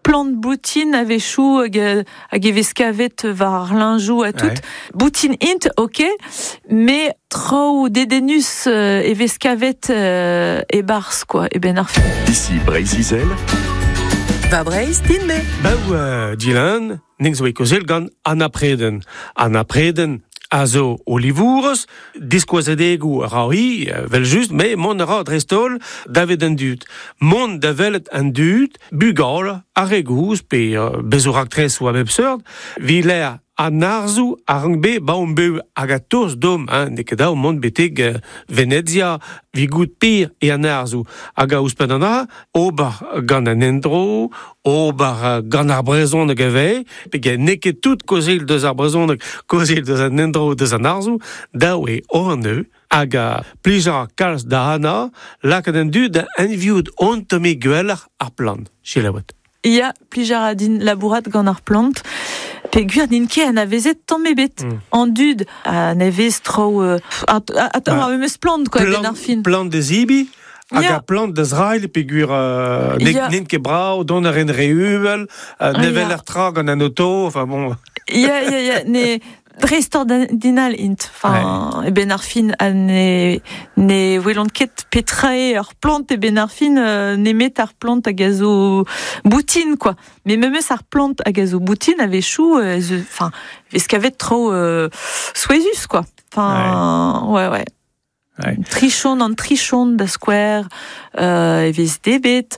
Plant boutin a-wechoù hag, hag e vez kavet war ar liñjoù ha tout. Boutin int, ok, mais traoù dedennus e vez kavet e-barzh, quoi, e-benn ar fin. Ici Breizh-Izel. Va Breizh, din-me. Beu uh, Dylan, ning zo e kozel gant Anna Preden. Anna Preden a zo olivourez, diskouezadegoù a ra hi, vel just, me mont a ra dreist-holl davet an dud. Mont da welet an dud, bugale, ar re gozh, pe bezoù raktresoù a bep seurt, 'vit lec'h an arzoù a rank bet 'ba hon bev hag a tost deomp, hein, n'eo ket dav mont betek Venezia 'vit goût pir eo an arzoù. Hag a ouzhpenn an dra, ober gant an endro, ober gant ar brezhoneg ivez, peogwir n'eo ket tout kaozeal deus ar brezhoneg, kaozeal deus an endro, deus an arzoù, dav eo ober anezho. Hag a plij a ra kalz da Anna lakaat an dud da anviout on tammig gwelloc'h ar plant. Selaouet. Ya, plij a ra din labourat gant ar plant. Peogwir n'int ket anavezet tamm ebet. An dud a nevez traoù... Attends, ar memes plant, quoi, ben ar fin. Plant da zibi hag ar plant da zrailh peogwir n'int ket brav, dont a rin re uvel, ne weler tra gant an auto, enfin bon... Ya, ya, ya, ne, Dreistordinal int. Enfin, ouais. E-benn ar fin, ha ne, ne welont ket petra eo ar plant e-benn ar fin, euh, nemet ar plant hag a zo boutin, quoi. Mais memes ar plant hag a zo boutin a-wechoù, euh, enfin, vez kavet traoù euh, souezhus, quoi. Enfin, ouais, ouais. ouais. Trichon an trichon da skouer euh, e vez debet.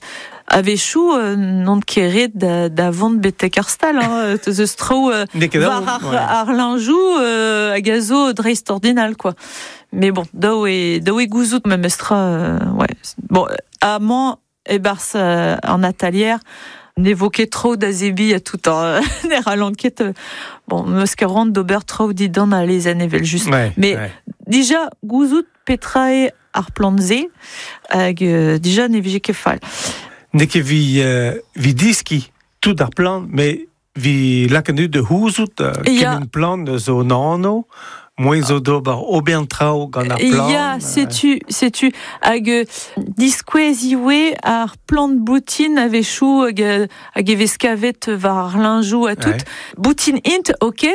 A-wechoù euh, n'on ket ret da, da vont betek ar stal. Hein. Teus eus traoù euh, war ar, ouais. ar liñjoù euh, hag a zo dreistordinal, quoi. Mais bon, dav eo, dav eo gouzout memestra. Euh, ouais. Bon, amañ, e-barzh euh, an atalier, ne vo ket tro da zebriñ ha tout hein. Ne c'hallan ket bon meus ket c'hoant d'ober traoù dindan al lezenn evel-just ouais, mais ouais. dija gouzout petra eo ar plant-se hag euh, dija ne vije ket fall. N'eo ket vi, euh, vi diski tout ar plant, mais vi lakaat da c'houzout euh, kement plant zo un anv, Moaien zo d'ober ober traoù gant ar plant. Ya, setu, setu. Hag euh, diskouez ivez ar plant boutin a-wechoù hag, euh, hag e vez kavet war ar liñjoù ha tout. Ouais. Boutin int, ok,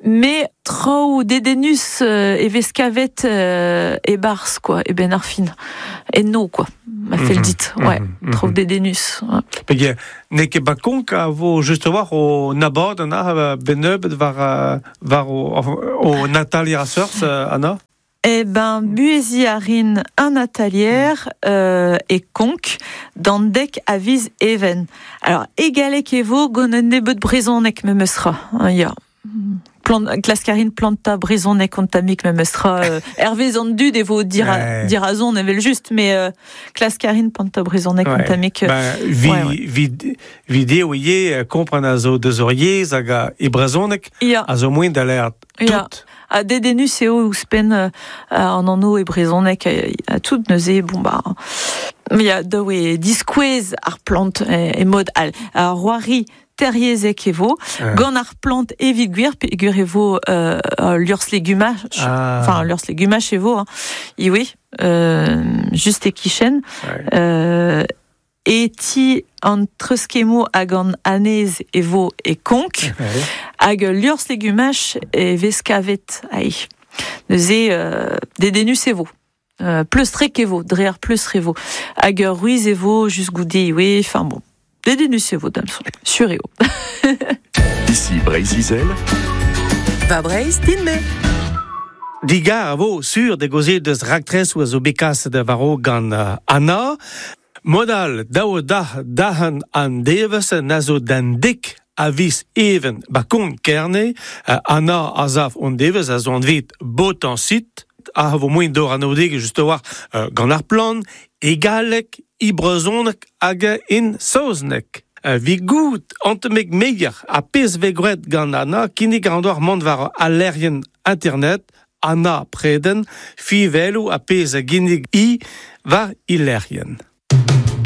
mais traoù dedennus euh, e vez kavet euh, e-barzh, quoi, e-benn ar fin. Enno, quoi, ma fell dit. Ouais, traoù dedennus. Ouais. Peogwir n'eo ket Bakonk a vo just a-walc'h o abadenn ah, bennebeut war, war o, o Natalia a seurt, Anna? Eh ben, buheziñ a rin un atalier euh, e Konk d'an dek a viz Even. Alors, e galleg e vo gant un nebeud brezhoneg memestra. Hein, ya. Plant, klask a rin plantañ brezhoneg an tammig memestra. Euh, hervez an dud e vo dira, Ouais. dirazon evel-just, mais euh, klask a rin plantañ brezhoneg an Ouais. tammig. Ben, vi, ouais, ouais. vi, video ivez kompren a zo deus hor yezh hag a, e brezhoneg Ya. a zo moaien da lâret Ya. tout. Ha dedennus eo ouzhpenn euh, an anv e brezhoneg ha tout neuze bon bah ya dav eo diskouez ar plant e, e mod all. Ar c'hoari teryezhek e vo Ouais. gant ar plant evit gwir peogwir e vo euh, liorzh legumaj Ah. enfin liorzh legumaj e vo hein. Ivez euh, just e-kichen Ouais. euh, e ti an treuzkemmoù hag an anez e vo e Konk Ouais. hag liorzh legumaj e vez kavet ai. Neuze euh, dedennus e vo. Euh, pleustrek e vo, dre ar pleustr e vo. Hag ur ruiz e vo just goude ivez, enfin bon. Dedennus e vo da'm soñj, sur eo. Ici Breizh-Izel. Va Breizh, din-me. Digar a vo sur da gaozeal deus raktresoù a zo bet kaset war-raok gant euh, Anna. Mod all, daou da dahan an devezh na zo d'an dek a viz Even ba Konk Kerne. Euh, Anna a sav an devezh a zo anvet Botansit a vo moaien d'ober anaoudegezh just a-walc'h euh, gant ar plant, e galleg, e brezhoneg hag en saozneg. Euh, Vi goût an tammig meier ha pezh vez graet gant Anna kinnig an doar mont war al lec'hienn internet Anna Preden, fiveloù ha pezh a ginnig i war he lec'hienn.